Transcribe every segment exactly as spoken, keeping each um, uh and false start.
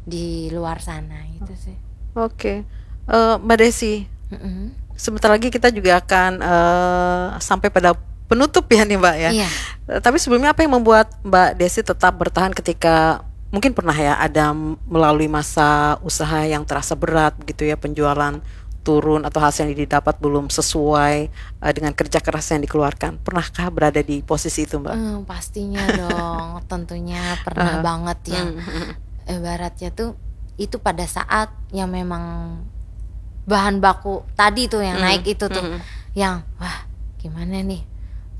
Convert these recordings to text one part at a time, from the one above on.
di luar sana gitu sih. Oke. Eh, Mbak Desi, Mm-mm. sebentar lagi kita juga akan eh, sampai pada penutup ya nih, Mbak, ya. Iya. Eh, tapi sebelumnya, apa yang membuat Mbak Desi tetap bertahan ketika mungkin pernah ya ada melalui masa usaha yang terasa berat begitu ya, penjualan turun atau hasil yang didapat belum sesuai eh, dengan kerja keras yang dikeluarkan? Pernahkah berada di posisi itu, Mbak? Hmm, pastinya dong, tentunya pernah Aha. banget yang Hmm, hmm, ibaratnya tuh itu pada saat yang memang bahan baku tadi tuh yang Hmm, naik itu tuh, hmm. Yang wah, gimana nih,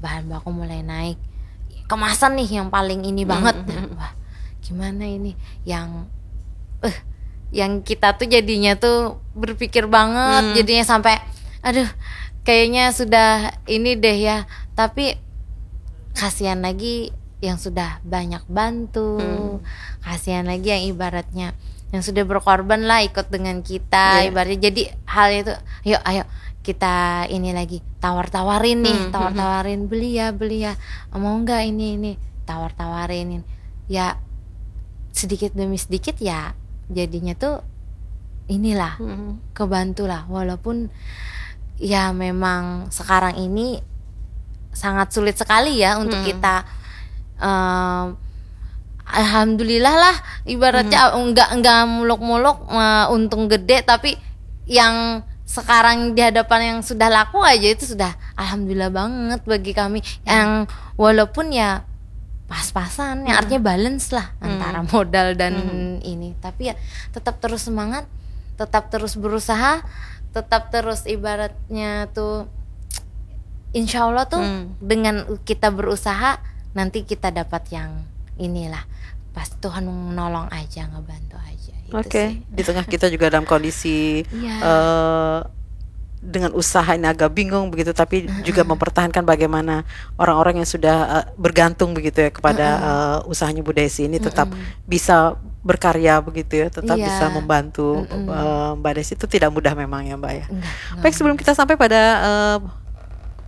bahan baku mulai naik, kemasan nih yang paling ini Hmm, banget. hmm. Wah, gimana ini, yang eh yang kita tuh jadinya tuh berpikir banget, Hmm. jadinya sampai aduh, kayaknya sudah ini deh ya. Tapi kasihan lagi yang sudah banyak bantu, Hmm. kasihan lagi yang ibaratnya yang sudah berkorban lah ikut dengan kita, Iya. Ibaratnya jadi hal itu, yuk, ayo kita ini lagi, tawar-tawarin nih, Hmm, tawar-tawarin, beli ya, beli ya, mau nggak ini, ini, tawar-tawarin, ya sedikit demi sedikit ya jadinya tuh inilah, Hmm. kebantu lah, walaupun ya memang sekarang ini sangat sulit sekali ya untuk Hmm. kita em, alhamdulillah lah, ibaratnya enggak enggak muluk-muluk eh, untung gede, tapi yang sekarang di hadapan yang sudah laku aja itu sudah alhamdulillah banget bagi kami, yang walaupun ya pas-pasan, yang Hmm. artinya balance lah Hmm. Antara modal dan Hmm. ini, tapi ya tetap terus semangat, tetap terus berusaha, tetap terus ibaratnya tuh insya Allah tuh Hmm. dengan kita berusaha nanti kita dapat yang inilah, pas Tuhan menolong aja, ngebantu aja itu Oke, sih. Di tengah kita juga dalam kondisi Iya. eh, dengan usaha ini agak bingung begitu, tapi juga mempertahankan bagaimana orang-orang yang sudah eh, bergantung begitu ya kepada eh, usahanya Bu Desi ini tetap bisa berkarya begitu ya, tetap Iya. bisa membantu Mm-mm. eh, Mbak Desi. Itu tidak mudah memang ya, Mbak, ya. Enggak, enggak Baik, sebelum kita sampai pada eh,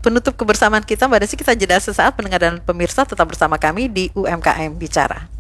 penutup kebersamaan kita, Mbak Desi, kita jeda sesaat, pendengar dan pemirsa, tetap bersama kami di U M K M Bicara.